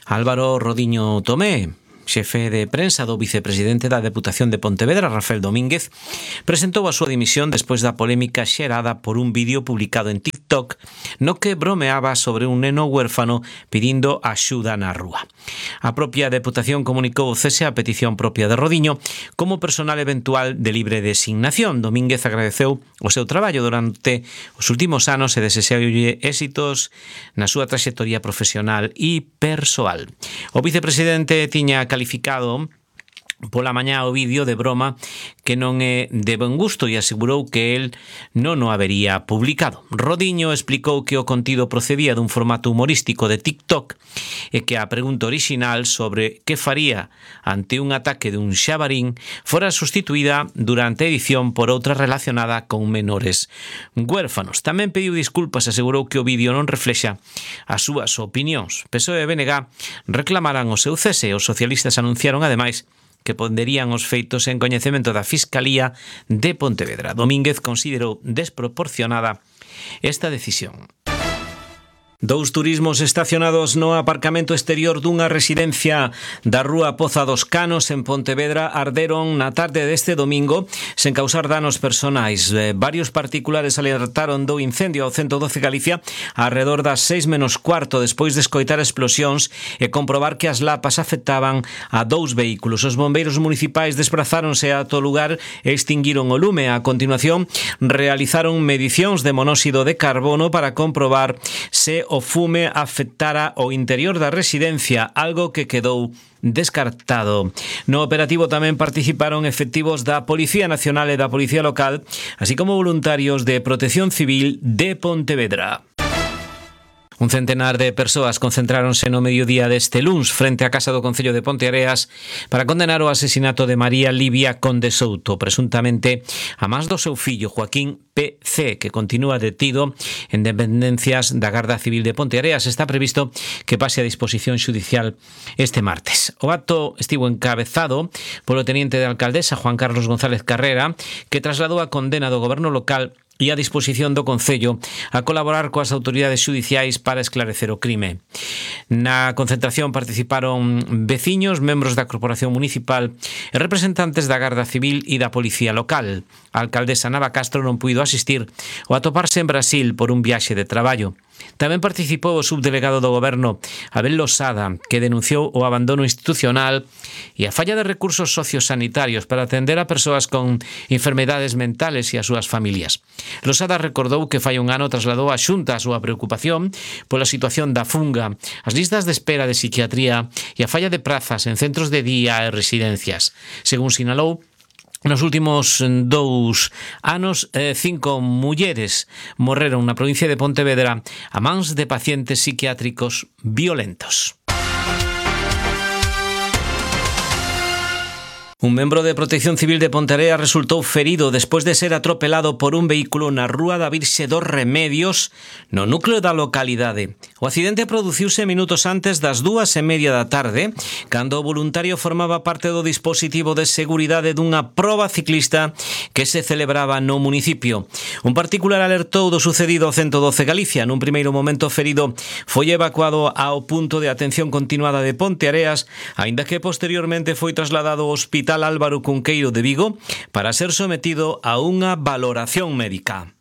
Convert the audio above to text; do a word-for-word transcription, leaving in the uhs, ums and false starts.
Álvaro Rodiño Tomé, xefe de prensa do vicepresidente da Deputación de Pontevedra, Rafael Domínguez, presentou a súa dimisión despois da polémica xerada por un vídeo publicado en TikTok no que bromeaba sobre un neno huérfano pedindo axuda na rúa. A propia Deputación comunicou o cese a petición propia de Rodiño como personal eventual de libre designación. Domínguez agradeceu o seu traballo durante os últimos anos e desexoulle éxitos na súa traxectoria profesional e persoal. O vicepresidente tiña calificado pola mañá o vídeo de broma que non é de bon gusto e asegurou que el non o habería publicado. Rodiño explicou que o contido procedía dun formato humorístico de TikTok e que a pregunta orixinal sobre que faría ante un ataque dun xabarín fora sustituída durante a edición por outra relacionada con menores huérfanos. Tamén pediu disculpas e asegurou que o vídeo non reflexa as súas opinións. P S O E e B N G reclamaran o seu cese e os socialistas anunciaron ademais que ponderían os feitos en coñecemento da Fiscalía de Pontevedra. Domínguez considerou desproporcionada esta decisión. Dous turismos estacionados no aparcamento exterior dunha residencia da rúa Poza dos Canos en Pontevedra arderon na tarde deste domingo sen causar danos personais. Eh, varios particulares alertaron do incendio ao ciento doce Galicia arredor das seis menos cuarto despois de escoitar explosións e comprobar que as lapas afectaban a dous vehículos. Os bombeiros municipais desprazáronse a todo lugar e extinguiron o lume. A continuación realizaron medicións de monóxido de carbono para comprobar se o fume afectara o interior da residencia, algo que quedou descartado. No operativo tamén participaron efectivos da Policía Nacional e da Policía Local, así como voluntarios de Protección Civil de Pontevedra. Un centenar de persoas concentráronse no mediodía deste luns frente á Casa do Concello de Ponteareas para condenar o asesinato de María Livia Conde Souto, presuntamente a mans do seu fillo Joaquín P C, que continúa detido en dependencias da Garda Civil de Ponteareas. Está previsto que pase a disposición xudicial este martes. O acto estivo encabezado polo teniente de alcaldesa Juan Carlos González Carrera, que trasladou a condena do goberno local e a disposición do Concello a colaborar coas autoridades xudiciais para esclarecer o crime. Na concentración participaron veciños, membros da Corporación Municipal e representantes da Garda Civil e da Policía Local. A alcaldesa Nava Castro non puido asistir ou atoparse en Brasil por un viaxe de traballo. Tamén participou o subdelegado do Goberno, Abel Losada, que denunciou o abandono institucional e a falla de recursos sociosanitarios para atender a persoas con enfermedades mentales e as súas familias. Losada recordou que fai un ano trasladou á Xunta a súa preocupación pola situación da funga, as listas de espera de psiquiatría e a falla de prazas en centros de día e residencias. Según sinalou, nos últimos dous anos, cinco mulleres morreron na provincia de Pontevedra a mans de pacientes psiquiátricos violentos. Un membro de Protección Civil de Ponteareas resultou ferido despois de ser atropelado por un vehículo na rúa da Virxe dos Remedios, no núcleo da localidade. O accidente produciuse minutos antes das dúas e media da tarde, cando o voluntario formaba parte do dispositivo de seguridade dunha proba ciclista que se celebraba no municipio. Un particular alertou do sucedido ao ciento doce Galicia. Nun primeiro momento ferido foi evacuado ao punto de atención continuada de Ponteareas, aínda que posteriormente foi trasladado ao Hospital Álvaro Cunqueiro de Vigo para ser sometido a unha valoración médica.